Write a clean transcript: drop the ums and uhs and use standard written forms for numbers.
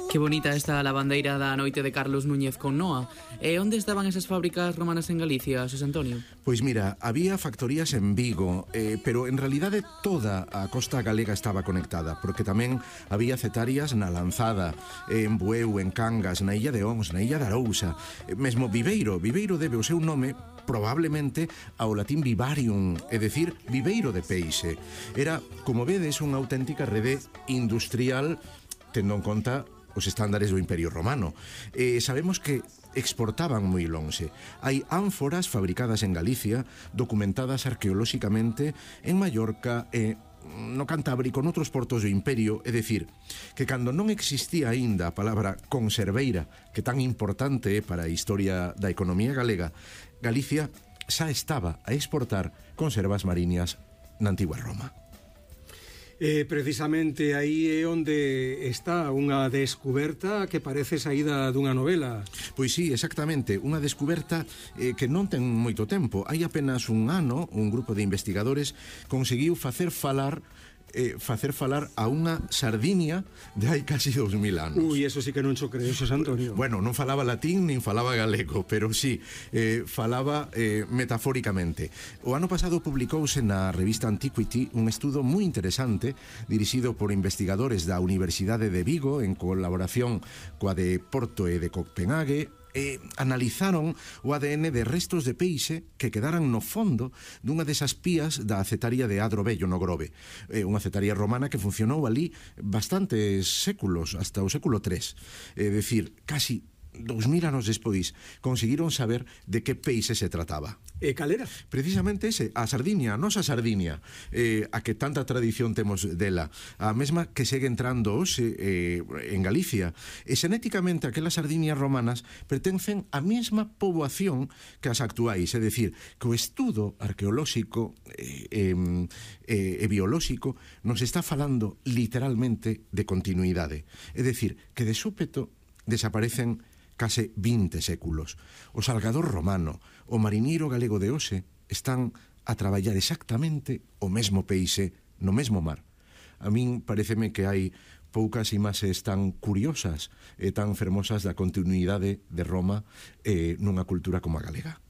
Que bonita esta lavandeira da noite de Carlos Núñez con Noa. E onde estaban esas fábricas romanas en Galicia, Xosé Antonio? Pois mira, había factorías en Vigo, pero en realidade toda a costa galega estaba conectada, porque tamén había cetarias na Lanzada, en Bueu, en Cangas, na Illa de Ons, na Illa de Arousa, mesmo Viveiro. Viveiro debe o seu nome probablemente ao latín vivarium, é dicir, viveiro de peixe. Era, como vedes, unha auténtica rede industrial tendo en conta os estándares do Imperio Romano. Sabemos que exportaban moi lonxe. Hai ánforas fabricadas en Galicia, documentadas arqueolóxicamente en Mallorca e no Cantábrico, noutros portos do Imperio, é dicir, que cando non existía aínda a palabra conserveira, que tan importante é para a historia da economía galega, Galicia xa estaba a exportar conservas mariñas na antigua Roma. Precisamente aí é onde está unha descuberta que parece saída dunha novela. Pois sí, exactamente, unha descuberta que non ten moito tempo. Hai apenas un ano, un grupo de investigadores conseguiu facer falar a unha Sardinia de hai casi 2000 anos. Ui, eso sí que non xo creo, Xosé Antonio. Bueno, non falaba latín nin falaba galego, pero sí, falaba metafóricamente. O ano pasado publicouse na revista Antiquity un estudo moi interesante dirixido por investigadores da Universidade de Vigo en colaboración coa de Porto e de Copenhague. Analizaron o ADN de restos de peixe que quedaran no fondo dunha desas pías da acetaria de Adro Vello no Grove, unha acetaria romana que funcionou ali bastantes séculos, hasta o século III, é dicir, casi 2000 anos despois conseguiron saber de que peixe se trataba. E cal era? Precisamente ese, a Sardinia, a nosa Sardinia, a que tanta tradición temos dela, a mesma que segue entrando hoxe en Galicia. E xenéticamente aquelas Sardinias romanas pertencen á mesma poboación que as actuais, é dicir, que o estudo arqueolóxico e biolóxico nos está falando literalmente de continuidade. É dicir, que de súpeto desaparecen case 20 séculos. O salgador romano, o mariñeiro galego de hoxe están a traballar exactamente o mesmo peixe no mesmo mar. A min pareceme que hai poucas imaxes tan curiosas e tan fermosas da continuidade de Roma nunha cultura como a galega.